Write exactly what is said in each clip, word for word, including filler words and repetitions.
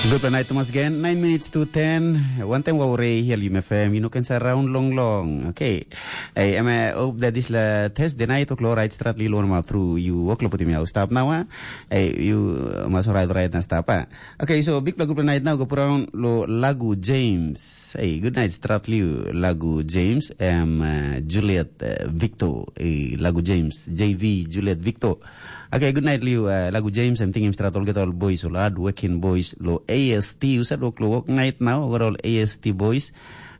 Gutpela nait tumas gen, nine minutes to ten. Wantaim wau re hiel yum F M, you know, can say round long long. Okay. Hey, em eh, hope that this la test the night o'clock right start li lon map through you o'clock putim yau stop now, ah. Hey, you uh, must right right na stop, ah. Okay, so big gutpela nait now go put on lo Lagu James. Hey, good night start liu Lagu James. Em uh, Juliet uh, Victor. Hey, Lagu James, J V Juliet Victor. Okay, good night liu uh, Lagu James. I'm thinking start all get all boys all hard working boys lo A S T. You said work lo work night now. Got all A S T boys.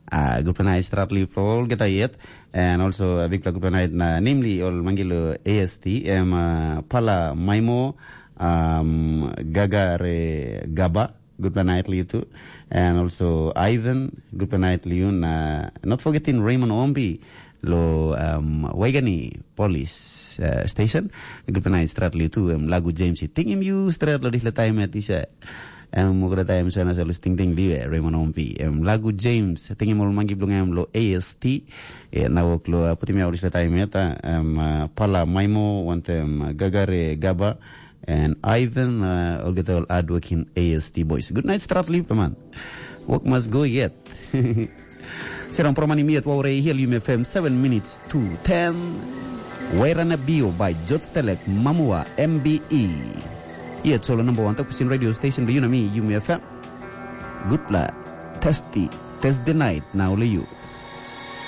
Uh, good night start liu all get yet. And also a big good night na namely all mangilo A S T. Em uh, Pala Maimo, um, Gagare Gaba. Good night liu too. And also Ivan. Good night liu. Na not forgetting Raymond Ombi lo um, Waigani Police uh, Station. Good night strat liu too. Um, Lagu James i tingim you strat lo disla time at isa. Em mokra taim sana sa lusting ting liu eh, Raymond Ompi. Em Lagu James, tingim ol mangi bilong em lo A S T. Eh, na wok lo uh, putim ya ol disla taim ya ta. Em uh, Pala Maimo, wantem uh, Gagare Gaba. And Ivan, uh, olgeta ol hardworking A S T boys. Good night, Stratly, man. Work must go yet. Serang proman imiet waure hiel Yumi F M seven minutes to ten. Wairana Bio by George Telek Mamua M B E. Yet solo number one takusin radio station do you know me Yumi F M. Good la. Testy. Test the night now you.